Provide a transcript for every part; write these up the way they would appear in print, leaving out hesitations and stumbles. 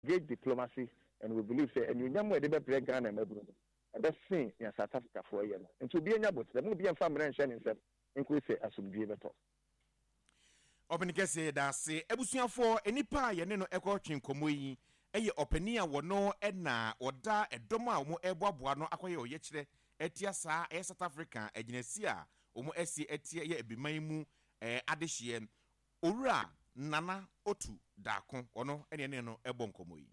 Engage diplomacy and we believe sɛ anuonyam a yɛde bɛbrɛ Ghana mmabunu no, ɛbɛsen nea South Africafoɔ yɛ no. Nti obiara nya aboterɛ. Mo obiara mfa mmara nhyɛ ne nsam nkosi sɛ asomdwoeɛ bɛtɔ. Ɔpɛni kɛseɛ yɛda ase. Abusuafoɔ, nnipa a yɛne no ɛkɔ twe nkɔmmɔ yi yɛ ɔpanin a wɔno na ɔda ɛdɔm a wɔn ɛreboaboa ano akɔyɛ ɔyɛkyerɛ atia saa ɛyɛ South Africa agyinasie a wɔn asi atia ɛyɛ Abiman mu adehyeɛ Owura Nana Otu Darko, ɔno ne yɛne no rebɔ nkɔmmɔ yi.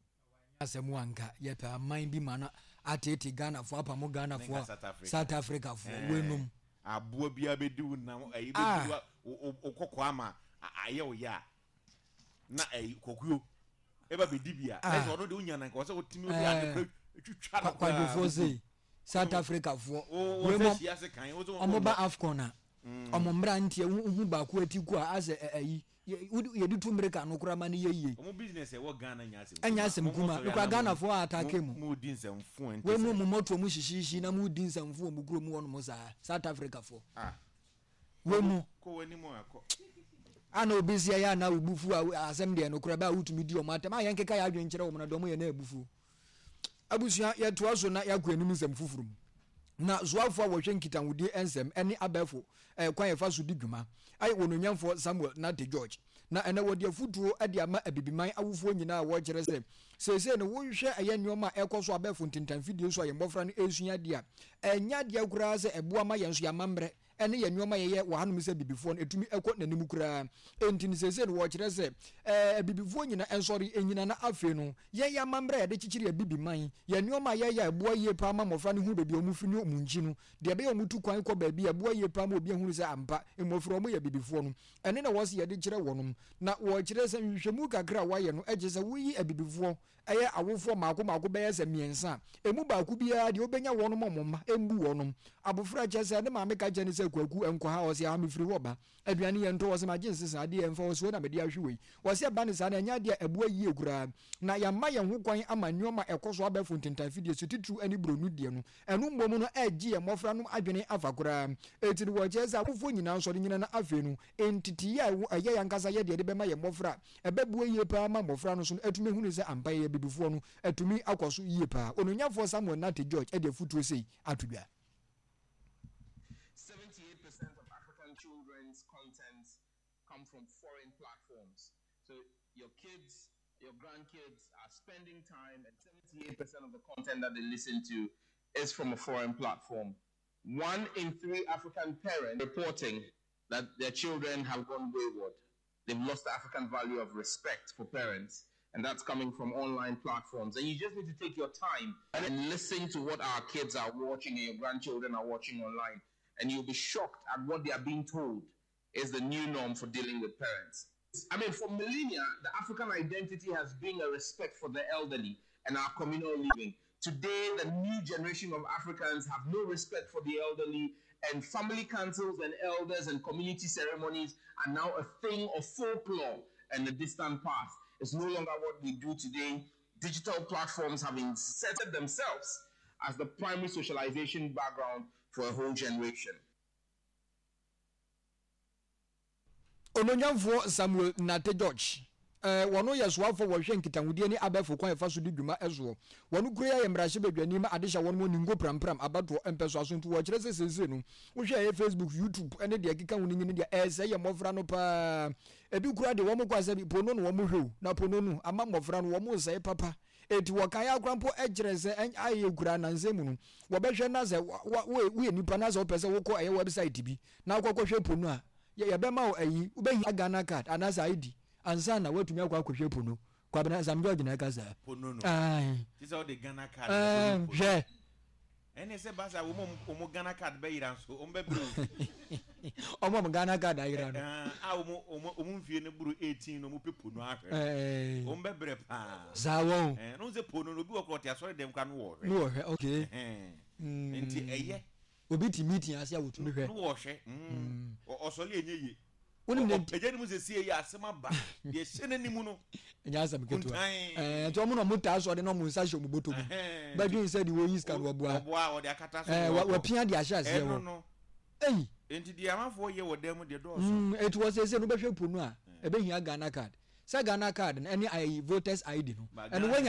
Wanyɛ asɛm a nka yɛpɛ aman bi ma no ateetee Ghanafoɔ apamo Ghanafoɔ South Africa foɔ weinom. Aboa biara bɛdi wo nam ɛyi bɛdi wo wo kɔkɔɔ ama ayɛ wo ya na ɛyi kɔkuo ɛba bɛdi bi a ɛsɛ ɔno de wonya na nka ɔsɛ wotumi wode ade kora twitwa no koraa. Kwadwofoɔ sei South Africa foɔ weinom ɔmo ba AFCON a Ɔmo mmeranteɛ wo hu baako ati ko a asɛ ɛ ayi yɛde tu mmirika no koraa ma no yɛ yie. Ɔmo business ɛwɔ Ghana nyɛ asɛm kumaa. Ɛnyɛ asɛm kumaa. Mo Mekura Ghana foɔ a atake mo. Mo di nsɛmfo ɛnte sɛ. Wei mo mo mɔtoɔ mo hyehyeehye na mo di nsɛmfo wɔ mo kurom hɔ nom saa South Africa foɔ. Ah. Wei mo. Kɔ w'anim a kɔ. A na obi si ɛyɛ a na wo bu fu a asɛm deɛ nokorɛ bɛ a wotumi di ɔmo atɛm a yɛn keka yɛ adwene kyerɛ wɔn na deɛ ɔmo yɛ na abufuo. Abusua, yɛtoa so na yɛakɔ anim nsɛm foforo mu. Na soafo a wɔhwɛ nkitahodie nsɛm ne abɛɛfo kwan a yɛfa so di dwuma ayɛ Onuonyamfoɔ Samuel Nartey George. Na ɛnɛ wɔde afutuo de ama Abibiman awofoɔ nyinaa a wɔkyerɛ sɛ seesei no wohwɛ ɛyɛ nnoɔma a ɛkɔ so abɛɛfo ntentanfidie so a yɛn mmɔfra no ɛresua adeɛ a ɛnyɛ adeɛ koraa sɛ ɛboa ma yɛn nso yɛn amammerɛ ne yɛn nneɛma a yɛyɛ wɔ hanom sɛ abibifoɔ no, ɛtumi kɔ n'anim koraa. Enti no seesei no wɔkyerɛ sɛ ɛɛ abibifoɔ nyina nsɔre nnyina na afei no yɛn yɛn amammerɛ a yɛde kyekyere abibiman, yɛn nneɛma a yɛyɛ a ɛboa yie paa ma mmɔfra no hu baabi a wɔfiri ne wɔn nkyi no, deɛ ɛbɛyɛ a wɔtu kwan kɔ baabi a ɛboa yie paa ma obi ahunu sɛ ampa mmɔfra wɔyɛ abibifoɔ no, ɛno na wɔse yɛde kyerɛ wɔnom. Na wɔkyerɛ sɛ nhwehwɛmu kakra a wɔayɛ no kyerɛ sɛ woyi abibifoɔ Ɛyɛ awofoɔ mmaako mmaako bɛyɛ sɛ mmiɛnsa a, ɛmu baako biara deɛ ɔbɛnya wɔnom a wɔn mma mbu wɔnom. Abɔfra kyerɛ sɛ ne maame ka kyerɛ no sɛ Kwaku nkɔ ha, ɔse aa mefiri hɔ ba. Aduane yɛntɔ, ɔse magye nsesa, adeɛ yɛmfa, ɔse wei na mede ahwe wei. Ɔse ɛba no saa no ɛnyɛ adeɛ a ɛboa yie koraa. Na yɛama yɛn ho kwan ama nnoɔma a ɛkɔ so abɛɛfo ntentan fidie so titiriw ɛne buroni deɛ no. Ɛno mmom no ɛregye yɛn mmɔfra nom adwene afa koraa. Enti no wɔkyerɛ sɛ awofoɔ nyinaa nsɔre nyina na afei no nteteeɛ a ɛwɔ ɛyɛ yɛn ankasa yɛ deɛ yɛde bɛma yɛn mmɔfra a ɛbɛboa yie paa ma mmɔfra no nso no atumi ahunu sɛ ampa yɛyɛ abibifoɔ no atumi akɔ so yie paa. Onuonyanfoɔ Samuel Nartey George de afotuo sei ato dwa. 78% of African children's content come from foreign platforms. So your kids, your grandkids are spending time, and 78% of the content that they listen to is from a foreign platform. One in three African parents reporting that their children have gone wayward. They've lost the African value of respect for parents, and that's coming from online platforms. And you just need to take your time and listen to what our kids are watching and your grandchildren are watching online, and you'll be shocked at what they are being told is the new norm for dealing with parents. I mean, for millennia, the African identity has been a respect for the elderly and our communal living. Today, the new generation of Africans have no respect for the elderly, and family councils and elders and community ceremonies are now a thing of folklore and the distant past. It's no longer what we do today. Digital platforms have inserted themselves as the primary socialization background for a whole generation. Onuonyamfoɔ Samuel Nartey George, eh, wɔno yɛ soafoɔ wɔhwɛ nkitahodie ne abɛɛfo kwan ɛfa so di dwuma soɔ. Wɔno kura yi ayɛ mmarahyɛbadwani ma adehyɛ wɔnom wɔ Ningo Prampram abatoɔ mpɛsoaso nti wɔkyerɛ sɛ seesei no wohwɛ ɛyɛ Facebook, YouTube ne deɛ ɛkeka ho no nyini deɛ ɛresɛe yɛ mmɔfra no paa. Ebi koraa deɛ wɔn kɔ asɛ bi pono no wɔn hwɛ o na pono no ama mmɔfra no wɔn resɛe papa. Enti wɔkae ara koraa mpo kyerɛ sɛ ayɛ koraa nnansa mu no, wɔbɛhwɛ na sɛ woyɛ nipa na sɛ wopɛ sɛ wokɔ ɛyɛ website bi na wokɔkɔhwɛ po no a, yɛbɛma wo ayi, wobɛhia Ghana card anaasɛ ID ansa na woatumi akɔ akɔhwɛ po no. Kwabena Sam George na ɛka saa. Po no no. Ae. Te sɛ wode Ghana card na ɛkɔhwɛ po no. Hwɛ. Ɛne sɛ ba saa wɔn a wɔn Ghana card bɛyera nso wɔn bɛbrɛ o. Wɔn a wɔn Ghana card ayera no. A wɔn wɔn wɔn mfie no boro 18 no wɔn pɛ po no ahwɛ no. Wɔn bɛbrɛ paa. Saa wɔn. Ɛɛ no sɛ po no obi wɔ korɔ ɔte asɔre dɛm koraa no wɔ hwɛ. No wɔ hwɛ okay. Nti ɛyɛ. Obi te meeting ase a wɔtumi hwɛ. No wɔ hwɛ. Ɔsɔre ɛnyɛ yie. Wonim ne nti. Ɔpagya ne mu sɛ sie yɛ asɛm aba. Deɛ ɛhyɛ n'anim no. Ɛnyɛ asɛm ketewa. Ɛɛ nti wɔn na wɔn taa sɔre na wɔn nsa hyɛ wɔn bɔtɔ mu. Bɛdwen sɛ deɛ wɔyi sika no wɔboa. Wɔboa wɔde akata so. Ɛɛ wɔpia de ahyɛ aseɛ hɔ. Ɛno no. Ei. Nti deɛ amanfoɔ yɛ wɔ dan mu deɛ dɔɔso. Eti wɔ sese no bɛhwɛ po no a ɛbɛhia Ghana card. Sɛ Ghana card no ɛne ayi voters ID no But ɛno Ghana wanya.